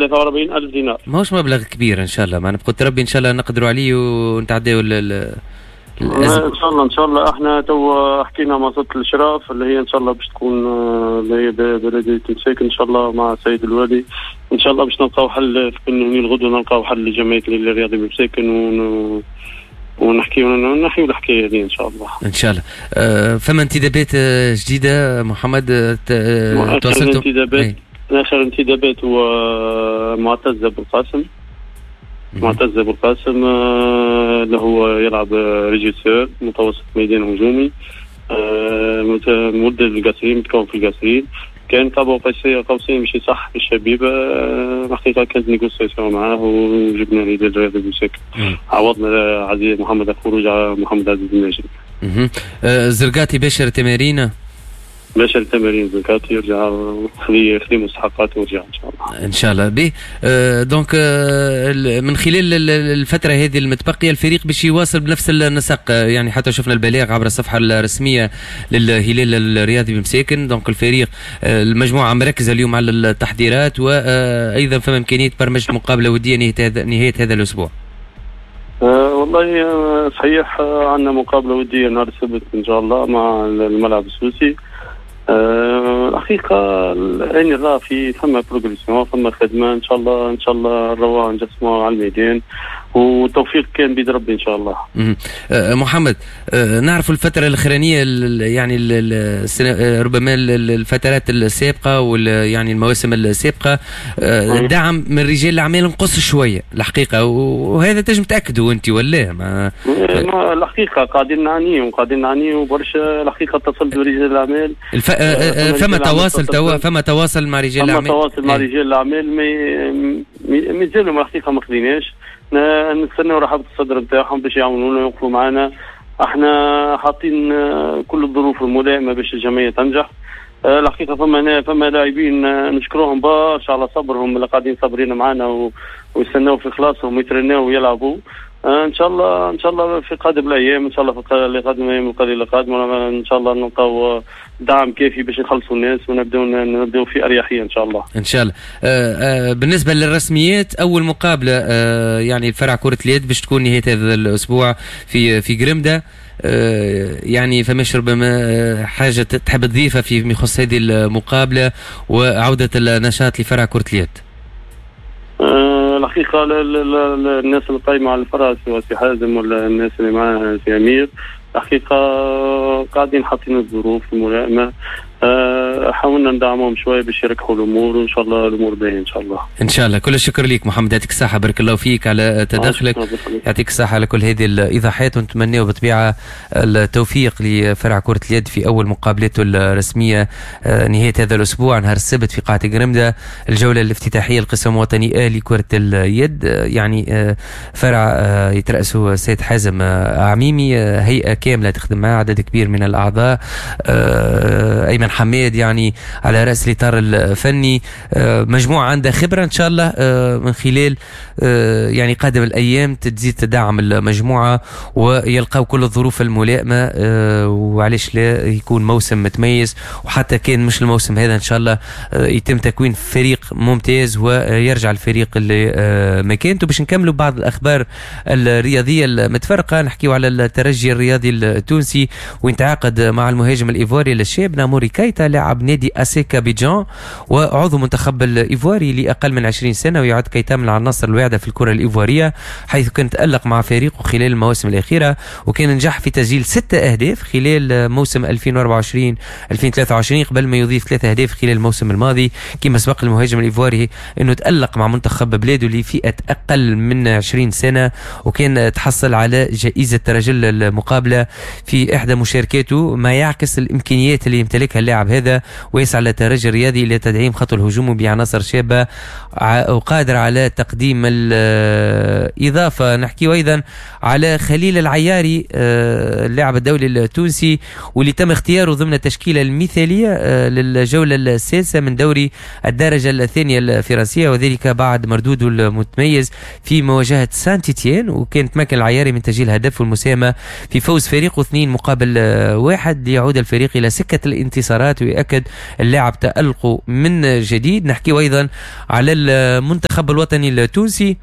43 ألف دينار. ماهوش مبلغ كبير ان شاء الله، معنا بقدرة ربي ان شاء الله نقدروا عليه ونتعداو الأزمة. ان شاء الله ان شاء الله. احنا تو حكينا مع سلطة الاشراف اللي هي ان شاء الله باش تكون اللي هي بلديه مساكن ان شاء الله مع السيد الوالي، ان شاء الله باش نلقاو حل في الغدوه، نلقاو حل لجمعية الرياضي بمساكن ونحكيو نحيو الحكاية هذه ان شاء الله. ان شاء الله. فما انتدابات جديدة محمد؟ تواصلتوا؟ انتدابات، اخر انتدابات هو معتز ابو القاسم. معتز ابو القاسم اللي هو يلعب régisseur متوسط ميدان هجومي، مولد القصرين، متكون في القصرين، كان قاب قوسين مش صح في الشبيبة. الحقيقة كانت négociation معاه وجبنا الهلال الرياضي بمساكن، عوضنا عزيز محمد الخروج على محمد عزيز الناجم. زرقاتي باشر تمارين؟ باشر تمارين زرقاتي، يرجع خذي مستحقاته ورجع ان شاء الله. ان شاء الله به. donc من خلال الفترة هذه المتبقية الفريق باش يواصل بنفس النسق، يعني حتى شفنا البلاغ عبر الصفحة الرسمية للهلال الرياضي بمساكن، donc الفريق المجموعة مركزه اليوم على التحضيرات، وايضا فما امكانية برمجة مقابله وديه نهاية هذا الاسبوع. والله صحيح، عندنا مقابله وديه نهار السبت ان شاء الله مع الملعب السوسي. الحقيقة العين راه في فما progression، فما خدمة ان شاء الله، ان شاء الله نروح نجسموا على الميدان والتوفيق كان بيد ربي ان شاء الله. محمد، نعرف الفترة الاخرانية يعني ربما الفترات السابقة وال يعني المواسم السابقة الدعم من رجال الاعمال نقص شوية الحقيقة، وهذا تنجم تاكدوا انت ولا ما؟ الحقيقة قاعدين نعانيو وقاعدين نعانيو برشا الحقيقة. اتصلت برجال الاعمال فما تواصل توا، فما تواصل مع رجال الاعمال؟ فما تواصل مع رجال الاعمال، مازالوا الحقيقة ما خذيناش، نستناو رحابة الصدر نتاعهم باش يعاونونا ويوقفوا معنا. احنا حاطين كل الظروف الملائمة باش الجمعية تنجح. الحقيقة فما لاعبين نشكرهم برشا على صبرهم اللي قاعدين صابرين معنا ويستناو في خلاصهم ويترناو ويلعبوا. ان شاء الله ان شاء الله في قادم الايام، ان شاء الله في قادم الايام القليلة القادمة ان شاء الله نلقاو دعم كافي باش نخلصوا الناس ونبداو في اريحية ان شاء الله. ان شاء الله. بالنسبة للرسميات، اول مقابله يعني الفرع كره اليد باش تكون نهاية هذا الاسبوع في قرمده، يعني فماش ربما حاجة تحب تضيفها في يخص هذه المقابلة وعوده النشاط لفرع كره اليد؟ الحقيقة الناس اللي قايمة على الفرع سواء سي حازم ولا الناس اللي معاه سي امير، الحقيقة قاعدين حاطين الظروف الملائمة، حاولنا ندعمهم شوية باش يركحوا الامور، وان شاء الله الامور باهيه ان شاء الله. ان شاء الله. كل الشكر ليك محمد، يعطيك الصحة، بارك الله فيك على تدخلك، يعطيك الصحة على كل هذه الايضاحات، ونتمناو بالطبيعة التوفيق لفرع كره اليد في اول مقابلاته الرسمية نهاية هذا الاسبوع نهار السبت في قاعة قرمده، الجولة الافتتاحيه القسم الوطني آ لكرة اليد، يعني فرع يترأسه السيد حازم عميمي، هيئة كاملة تخدم معه عدد كبير من الاعضاء، ايمن حماد يعني على رأس الإطار الفني، مجموعة عندها خبرة إن شاء الله من خلال يعني قادم الأيام تزيد تدعم المجموعة ويلقاو كل الظروف الملائمة، وعلاش لا يكون موسم متميز، وحتى كان مش الموسم هذا إن شاء الله يتم تكوين فريق ممتاز ويرجع الفريق اللي مكانته. باش نكملوا بعض الأخبار الرياضية المتفرقة، نحكيو على الترجي الرياضي التونسي وين تعاقد مع المهاجم الإيفواري الشاب ناموري كايتا لاعب نادي أسيكا بيجان وعضو منتخب الإيفواري لأقل من 20 سنة، ويعد كايتا من العناصر الواعدة في الكرة الإيفوارية حيث كان تألق مع فريقه خلال المواسم الأخيرة، وكان نجح في تسجيل 6 أهداف خلال موسم 2024-2023 قبل ما يضيف 3 أهداف خلال الموسم الماضي. كما سبق المهاجم الإيفواري أنه تألق مع منتخب بلاده لفئة أقل من 20 سنة، وكان تحصل على جائزة رجل المقابلة في إحدى مشاركاته، ما يعكس الإمكانيات اللي يمتلكها اللاعب هذا، ويسعى للترجي الرياضي لتدعيم خط الهجوم بعناصر شابة وقادر على تقديم الإضافة. نحكي أيضا على خليل العياري اللاعب الدولي التونسي واللي تم اختياره ضمن التشكيلة المثالية للجولة السادسة من دوري الدرجة الثانية الفرنسية، وذلك بعد مردودة المتميز في مواجهة سانتيتيان، وكان تمكن العياري من تسجيل هدف والمساهمة في فوز فريقه 2-1 ليعود الفريق إلى سكة الانتصارات ويأكد ويؤكد اللاعب تألقه من جديد. نحكي أيضا على المنتخب الوطني التونسي،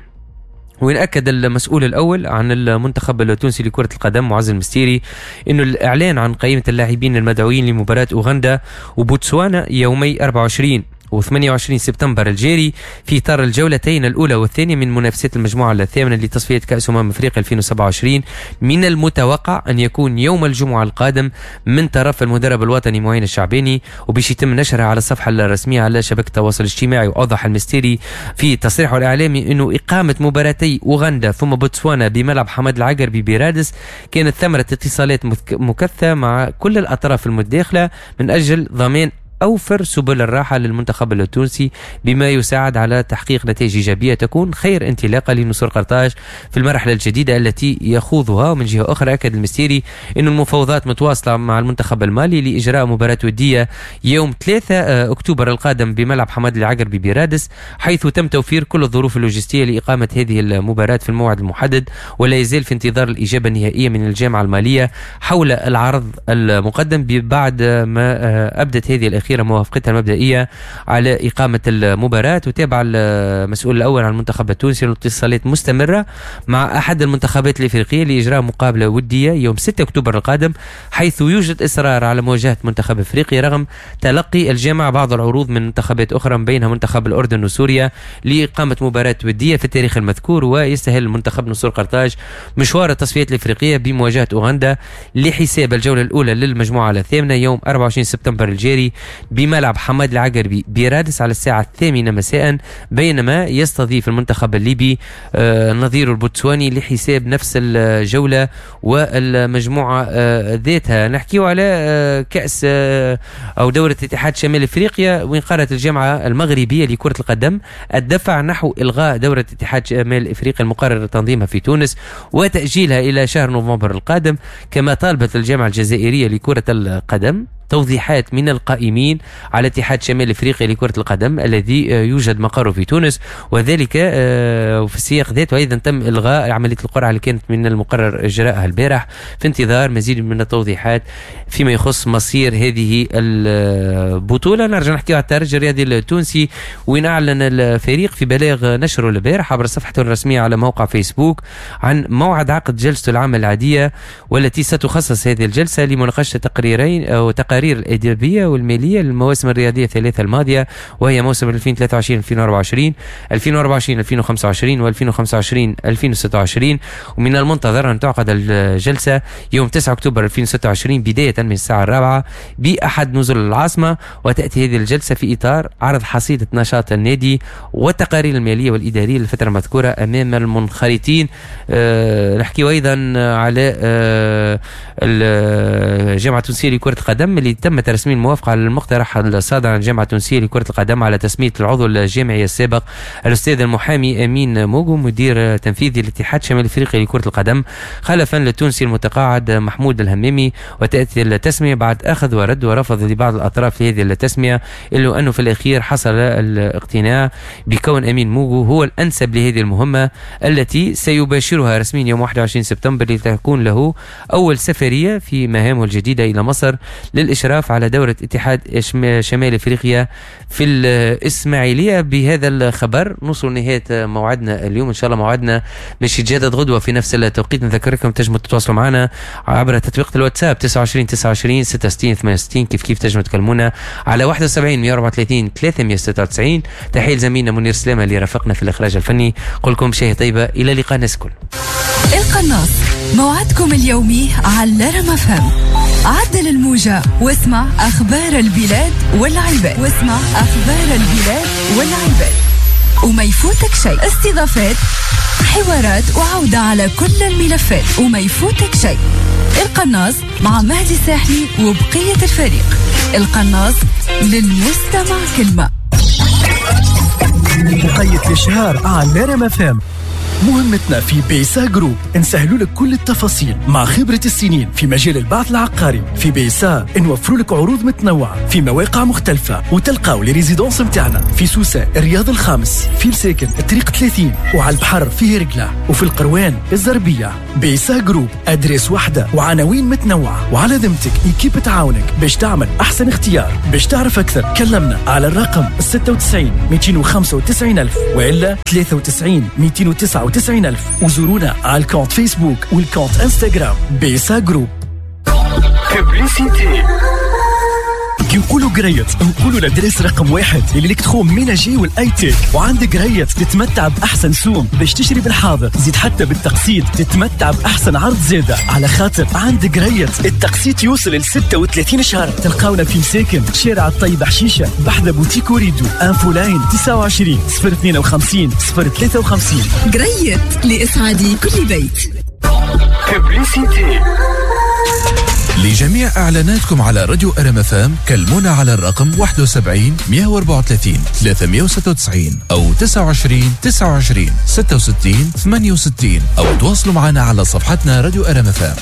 وين أكد المسؤول الأول عن المنتخب التونسي لكرة القدم معز المستيري أنه الإعلان عن قائمة اللاعبين المدعوين لمباراة أوغندا وبوتسوانا يومي 24 و28 سبتمبر الجاري في إطار الجولتين الأولى والثانية من منافسات المجموعة الثامنة لتصفية كأس أمم أفريقيا 2027 من المتوقع أن يكون يوم الجمعة القادم من طرف المدرب الوطني معين الشعباني، وباش يتم نشرها على الصفحة الرسمية على شبكة التواصل الاجتماعي. وأوضح المستيري في تصريحه الإعلامي أنه إقامة مباراتي أوغندا ثم بوتسوانا بملعب حماد العقربي برادس كانت ثمرة اتصالات مكثة مع كل الأطراف المتداخلة من أجل ضمان أوفر سبل الراحة للمنتخب التونسي بما يساعد على تحقيق نتائج إيجابية تكون خير انطلاقة لنسور قرطاج في المرحلة الجديدة التي يخوضها. ومن جهة أخرى أكد المستيري أن المفاوضات متواصلة مع المنتخب المالي لإجراء مباراة ودية يوم 3 أكتوبر القادم بملعب حماد العقربي برادس، حيث تم توفير كل الظروف اللوجستية لإقامة هذه المباراة في الموعد المحدد، ولا يزال في انتظار الإجابة النهائية من الجامعة المالية حول العرض المقدم بعد ما أبدت هذه الأخيرة موافقتها المبدئية على إقامة المباراة. وتابع المسؤول الأول عن المنتخب التونسي الاتصالات مستمرة مع أحد المنتخبات الإفريقية لإجراء مقابلة ودية يوم 6 أكتوبر القادم، حيث يوجد إصرار على مواجهة منتخب إفريقي رغم تلقي الجامعة بعض العروض من منتخبات أخرى من بينها منتخب الأردن وسوريا لإقامة مباراة ودية في التاريخ المذكور. ويستهل المنتخب نسور قرطاج مشوار التصفيات الإفريقية بمواجهة أوغندا لحساب الجولة الأولى للمجموعة الثامنة يوم 24 سبتمبر الجاري بملعب حماد العقربي برادس على الساعة 8 مساء، بينما يستضيف المنتخب الليبي نظيره البوتسواني لحساب نفس الجولة والمجموعة ذاتها. نحكيو على كأس أو دورة اتحاد شمال افريقيا، وين قررت الجامعة المغربية لكرة القدم الدفع نحو إلغاء دورة اتحاد شمال افريقيا المقرر تنظيمها في تونس وتأجيلها إلى شهر نوفمبر القادم. كما طالبت الجامعة الجزائرية لكرة القدم توضيحات من القائمين على اتحاد شمال افريقيا لكرة القدم الذي يوجد مقره في تونس، وذلك وفي السياق ذاته ايضا تم الغاء عملية القرعة اللي كانت من المقرر اجراءها البارح في انتظار مزيد من التوضيحات فيما يخص مصير هذه البطولة. نرجع نحكي على الترجي الرياضي التونسي، وين اعلن الفريق في بلاغ نشره البارح عبر صفحته الرسمية على موقع فيسبوك عن موعد عقد جلسته العامة العادية، والتي ستخصص هذه الجلسة لمناقشة تقريرين او تقارير الأدبية والمالية للمواسم الرياضية الثلاثة الماضية، وهي موسم 2023 2024 2024 2025 و 2025 2026. ومن المنتظر أن تعقد الجلسة يوم 9 أكتوبر 2026 بداية من الساعة 4 بأحد نزل العاصمة، وتأتي هذه الجلسة في إطار عرض حصيلة نشاط النادي والتقارير المالية والإدارية للفترة المذكورة أمام المنخرطين. نحكي أيضا على الجامعة التونسية لكرة القدم اللي تم ترسمين الموافقة على المقترح الصادر عن الجامعة التونسية لكرة القدم على تسمية العضو الجامعي السابق الأستاذ المحامي أمين موغو مدير تنفيذي للاتحاد الشمال الأفريقي لكرة القدم خلفا للتونسي المتقاعد محمود الهمامي. وتأتي التسمية بعد أخذ ورد ورفض لبعض الأطراف لهذه التسمية، إلا أنه في الأخير حصل الاقتناع بكون أمين موغو هو الأنسب لهذه المهمة التي سيباشرها رسميا يوم 21 سبتمبر لتكون له أول سفرية في مهامه الجديدة إلى مصر للإشراف على دورة اتحاد شمال افريقيا في الإسماعيلية. بهذا الخبر نوصل نهاية موعدنا اليوم، إن شاء الله موعدنا باش يتجدد غدوة في نفس التوقيت. نذكركم تنجموا تتواصلوا معنا عبر تطبيق الواتساب 29 29 66 68، كيف كيف تنجموا تكلمونا على 71 134 396. تحية لزميلنا منير سلامة اللي رافقنا في الإخراج الفني. قل لكم شهية طيبة، إلى لقاء الناس الكل. القناص موعدكم اليومي على رام أف أم. عدل الموجة واسمع أخبار البلاد والعباد، واسمع أخبار البلاد والعباد وما يفوتك شيء. استضافات، حوارات، وعودة على كل الملفات وما يفوتك شيء. القناص مع مهدي الساحلي وبقية الفريق. القناص للمستمع كلمة. وقيت الإشهار على رام أف أم. مهمتنا في بيسا جروب نسهلوا لك كل التفاصيل مع خبرة السنين في مجال البعث العقاري. في بيسا نوفروا لك عروض متنوعة في مواقع مختلفة، وتلقاو les résidences نتاعنا في سوسة الرياض الخامس، في الساكن الطريق 30، وعلى البحر في هرقلة، وفي القروان الزربية. بيسا جروب adresse واحدة وعناوين متنوعة، وعلى ذمتك équipe تعاونك باش تعمل أحسن اختيار. باش تعرف أكثر كلمنا على الرقم 96 295 ألف وإلا 93 299 ألف، وزورونا على ال compte فيسبوك وال compte انستغرام بيسا جروب. Publicité. كي نقولوا قريت نقولوا l'adresse رقم 1 l'électroménager وال high-tech، وعند قريت تتمتع باحسن سوم باش تشري بالحاضر، زيد حتى بالتقسيط تتمتع باحسن عرض زاده، على خاطر عند قريت التقسيط يوصل ل 36 شهر. تلقاونا في مساكن شارع الطيب حشيشه بحذا بوتيك وريدو. infoline 29 052 053. قريت لإسعاد كل بيت. Publicité. لجميع إعلاناتكم على راديو ار ام اف ام كلمونا على الرقم 71 134 396 أو 29 29 66 68، أو تواصلوا معنا على صفحتنا راديو ار ام اف ام.